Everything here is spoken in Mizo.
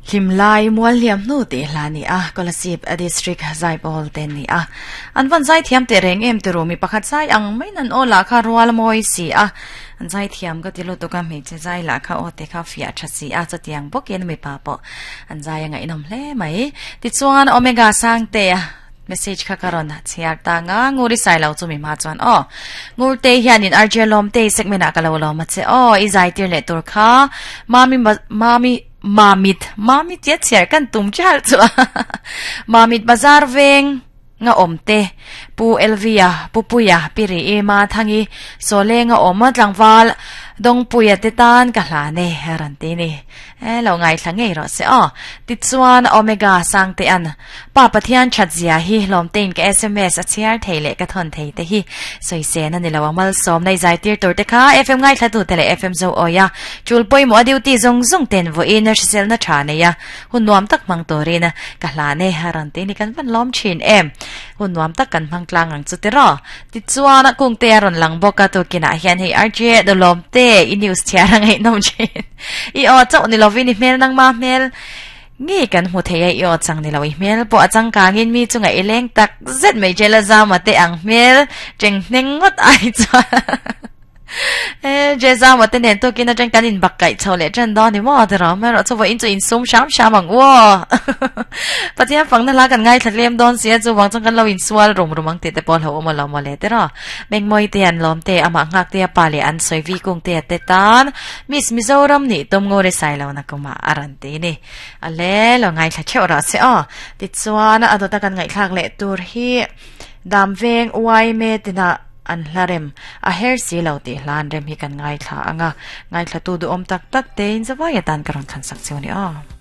Hlimlai Mualliam hnu tih hla ni a, Kolasib District Zaipawl te ni a. An van zaithiam teh reng em tiru mi pakhat zai ang mai nan aw lah kha rual mawi si a. An zaithiam ka ti lutuk a, hmeichhe zai lah kha aw te kha fiah tha si a, chutiang bawkin mipa pawh an zai a ngaihnawm hle mai. Tichuan Omega Sangtea message kha ka rawn chhiar ta nga, Ngur i sai lo chu mi hma chuan aw. Ngurte hianin RJ Lawmtei segment ah ka lo lawm a che aw, i zai tir leh tur kha Mami Mami Mamit Mamit tia chhiar kan tum chial chu a Mamit bazar veng nga awm te Pu Elvia Pu Puia Pi Ri Ima Thangi Sawlenga awm tlangval Dawngpuia te tan ka hlan e rawn ti ni. E lo ngaithla ngei rawh se aw. Tichuan Omega Sangtea'n Pa Pathian that zia hi hlawmtein ka sms a chhiar thei leh ka thawn thei te hi sawi sen a ni lo ang malsawm nei zai tir tur te kha FM ngaithla tu te leh FM zo awi a tul pawimawh a duty zawng zawng ten vawiin hriselna tha nei a hun nuam tak hmang turin ka hlan e a rawn ti ni kan van lawm thin em hun nuam tak kan hmang tlang ang chu tiraw tichuan a kung te a rawn lang bawk a tukinah hian hei RJ dawlawm te i news chhiar a ngaihnawm thin i aw chauh ni lovin i hmel nangma hmel Nge kan hmu thei a i aw chang ni lo i hmel pawh a changkangin mi chunga i leng tak zet mai che la zama te ang hmel cheng hneng ngawt ai chuan e je zama te nen tukin atang kan in bak kaih chho leh tan dawn ni maw ti rawh erawh chu vawiin chu insum hram hram ang u aw Pathian fangna hla kan ngaithla tlem dawn si a chuvang chuan kan lo insual rum rum ang tih te pawh hlauhawm a lo maw le ti rawh Mengmawi te an lawm te amah nghak te a pa leh an sawi vi kung te a te tan Miss Mizoram nih tum ngawr i sai lo na kumah a rawn ti ni. A le lo ngaithla theuh rawh se aw. Tichuan a dawta kan ngaihthlak leh tur hi Dam veng uai me tina an hla rem a her si lo tih hla an rem hi kan ngaithla ang a. Ngaithlatu duhawm tak tak tein zavai atan ka rawn thlansak cheu ni aw.